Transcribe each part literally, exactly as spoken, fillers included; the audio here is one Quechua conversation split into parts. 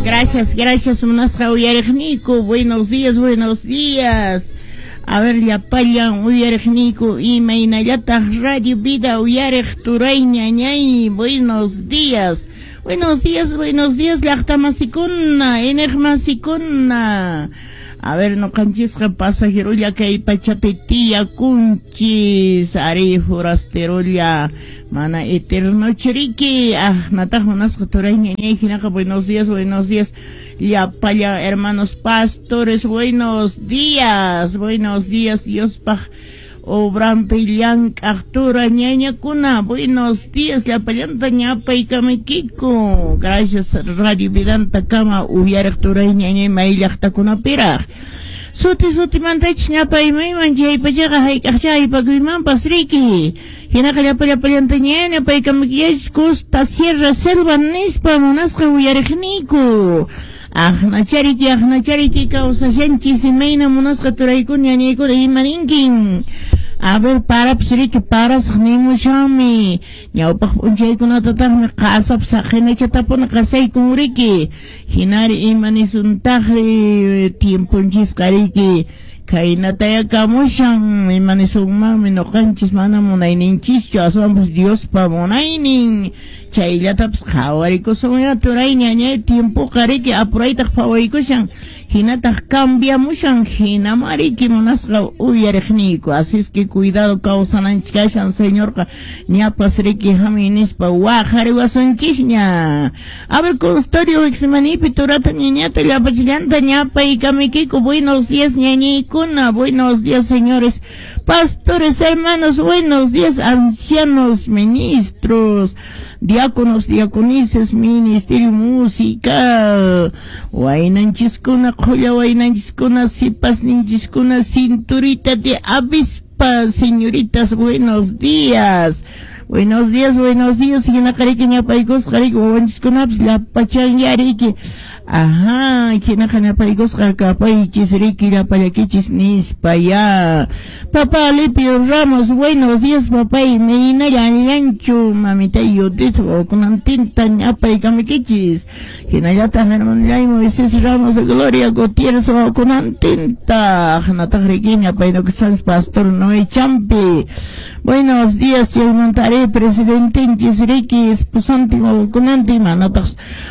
Gracias, gracias, munasqa uyariqniyku. Buenos días, buenos días. A ver, llapallan uyariqniyku, imaynallataq Radio Vida uyariq turay ñañay. Buenos días. Buenos días, buenos días, llaqtamasikuna, iñiqmasikuna. A ver, ñuqanchisqa pasajerolla kay pachapi tiyakunchis, ari forasterolla, mana eterno churiki. Ah, nataq munasqa turay ñañay hinaqa buenos días, buenos días. Llapallan hermanos pastores, buenos días, buenos días, Diospaq obrampi llank'aq tura ñañakuna, buenos días, llapallanta ñapaykamaykiku. Gracias Radio Vidanta kama uyariq turay ñañay may llaqtakunapiraq. Suti sutimantachis ñapaymayman chaypachaqa hayk'aqcha aypakuymanpas riki. Hinaqa llapa llapallanta ñapaykamaykichis Costa Sierra Selva nispa munasqa uyariqniyku. Aqnachariki, aqnachariki kawsashanchis imayna munasqa turaykuna ñañaykuna imaninkin. A ver, parapas riki parasaq nimushanmi. Ñawpaq p'unchaykunatataqmi qasapas saqinachatapuni qasaykun riki. Hinari imanisuntaqri tiemponchisqa riki. Khaynataya kamushan imanisunmanmi ñuqanchis mana munayninchischu aswanpas Diospa munaynin. Chayllatapas qhawarikusun turay ñañay tiempoqa riki apuraytaq phawaykushan hinataq cambiamushan hinama riki munasqa uyariqniyku. Así es que cuidado kawsananchis kashan Señorqa ñapas riki hamuy nispa waqariwasunchisña. A ver, consultorio Exmanipi turata ñañata llapachillanta ñapaykamiykiku. Buenos días ñañaykuna, buenos días señores pastores, hermanos, buenos días ancianos, ministros, diáconos, diaconisas, ministerio musical, waynanchiskuna, qhulla waynanchiskuna, sipasninchiskuna, cinturita de avispa, señoritas, buenos días. Buenos días, buenos días, hinaqa riki ñapaykusqa riki wawanchiskunapas llapachan riki. Ajá, hinaqa ñapaykusqa kapaychis riki llapallakichis nispa ya. Papá Alipio Ramos, buenos días papá, imaynalla allanchu mamita Judith wawakunantinta ñapaykamuykichis. Hinallataq hermanallay Moisés Ramos, Gloria Gutiérrez wawakunantinta. Hinataq riki ñapaynukusqanchis Pastor Noé Champi. Buenos días, chaymantari presidentenchis riki esposantin wawakunantin manataq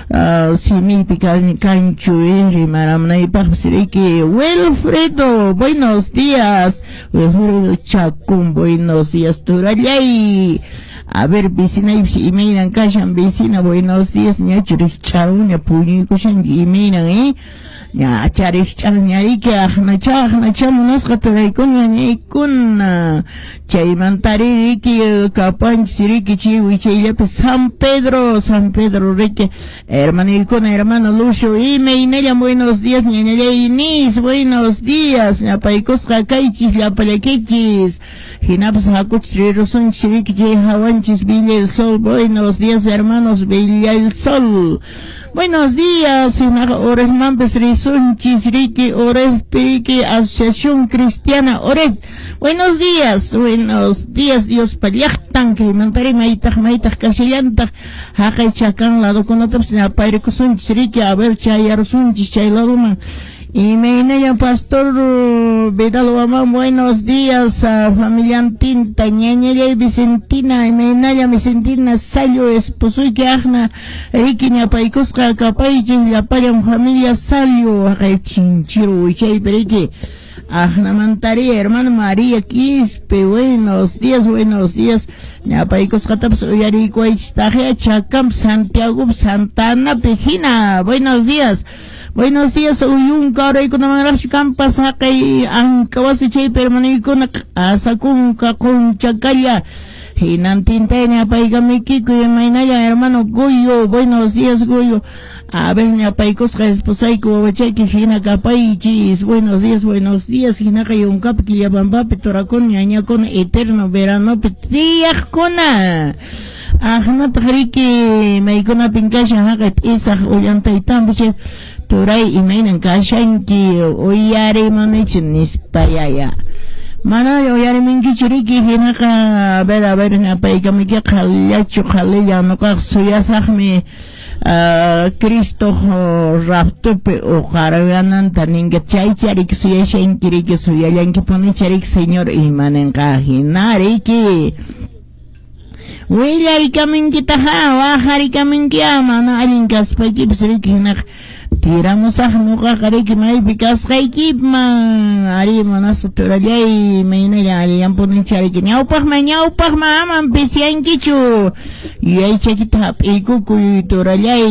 uh, simiypi kanchu eh, rimaramnaypaqpis riki. Wilfredo, buenos días. Wilfredo Chacún, buenos días turallay. A ver, vecinaypis imaynan kashan vecina, buenos días, ñachu rikch'aruña puñuykushanki imaynan eh. Ñacha rikch'aruña riki aqnacha aqnacha munasqa turaykuna ñañaykuna. Chaymantari riki kapanchis riki chay wichayllapi San Pedro, San Pedro riki hermanaykuna, hermano Lucio imaynalla buenos días ñañallay Inés, buenos días, ñapaykusqa kaychis llapallakichis. Hinapas hakuchis rirusunchis riki chay hawanchis Villa el Sol, buenos días hermanos Villa el Sol. Buenos días, hinaqa Orejmanpas risunchis riki Orejpi Asociación Cristiana Orej. Buenos días, buenos días Dios llaqtan kaymantari maytaq maytaq kashallantaq haqay chakan ladokunatapas ñapaykusunchis riki a ver chayarusunchis chay ladoman. Imaynalla Pastor Vidal Guamán, buenos días a familiantinta, ñañallay Vicentina, imaynalla Vicentina, Sallo, esposuyki aqna, riki ñapaykusqa kapaychis llapallan familia Sallo, haqay chinchiru wichaypi riki. Aqnamantari hermano María Quispe, buenos días, buenos días. Ñapaykusqatapas uyariykuwaychis taqya Chacam, Santiago, Santa Ana hina, buenos días. Buenos días, uyunka uraykunamanraqchu kampas haqay Ankawasi chaypi hermanoykuna q'asakunka qunchakalla. Hinantinta ñapaykamuykiku imaynalla hermano Goyo, buenos días Goyo. A ver ñapaykusqa esposayku wawachayki hina kapaychis, buenos días, buenos días, hinaqa yunkapi Quillabambapi turakuna ñañakuna eterno veranopi tiyaqkuna. Aqnataq riki maykunapin kashan haqay p'isaq Ollantaytambo chay turay imaynan kashanki uyarimunichi nispa yaya. Mana uyariminkichu riki, hinaqa a ver, a ver, napaykamiki qhalillachu qhalilla nuqaq suyasaqmi uh, Cristo raptopi uqargananta ninka chaycha riki suyashanki riki suyallankipunicha riki Señor imaninqa hina riki. Willarikaminkitaqa waqarikaminki mana allin kaspaykipas riki hinaqa tiramusaq nuqaqa riki maypi kasqaykiman ari munasqa turallay maynalla allinpunicha riki ñawpaqman ñawpaqman aman pisyankichu yuyaychaykita hap'iykukuy turallay.